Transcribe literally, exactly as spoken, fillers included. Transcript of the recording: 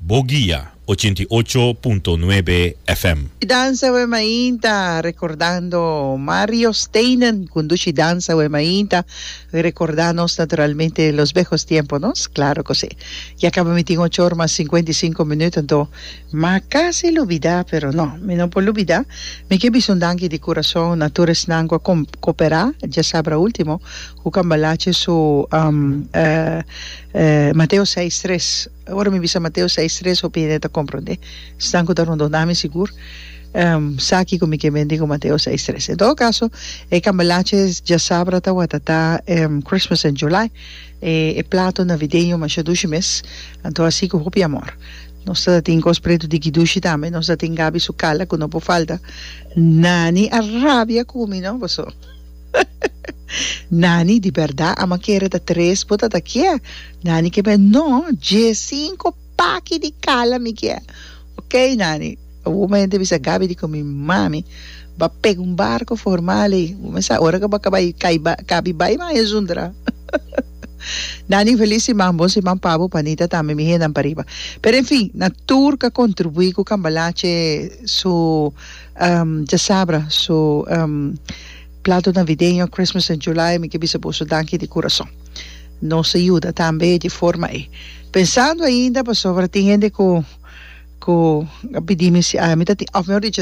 Bo Guia ochenta i ocho punto nuebe F M. Danza We Mainta, recordando Mario Steinen, cu Dushi Danza We Mainta, recordamos naturalmente los viejos tiempos, ¿no? Claro que sí. Ya caba mi tin ocho or mas cincuenta y cinco minuut, anto, m'a casi lubida, pero no, mi no por lubida. Mi ke bisa un danki di curason na tur esnan cu a coopera, diasabra ultimo, cu Cambalache su um, uh, uh, Mateo seis tres. Ora mi bisa Mateo seis tres, hopi hende ta comprende. Esnan cu ta rondona mi sigur um, sa kico mi ke men cu Mateo seis tres. En todo caso, e Cambalache diasabra tawata ta um, Christmas in July. E, e plato navideño masha dushi mes. Anto asina cu hopi amor. Nos tin cos preto di kidushi tambe, nos tin Gabi su kala cu no por falta. Nani a rabia cu mi, no? Boso. Nani, di berdad, ami a kere ta tres bo ta kier. Nani ke men no, diescinco paki di kala mi kier. Ok, Nani. O momento bisa Gabi di cu mi mami ba pega un barco formal e começa ora que ba cabay cai ba cabi bai ma é zundra. Nani, feliz siman, bon siman pa bo, panita tambe, mi hendenan pariba. Pero en fin, na tur cu a contribui cu Cambalache su um, diasabra, su um, plato navideño Christmas in July, mi ke bisa boso danki di curason. Nos a yuda tambe di forma e. Pensando ainda pasobra tin hende cu cu a pidi mi si ah, mi ta of mehor dicho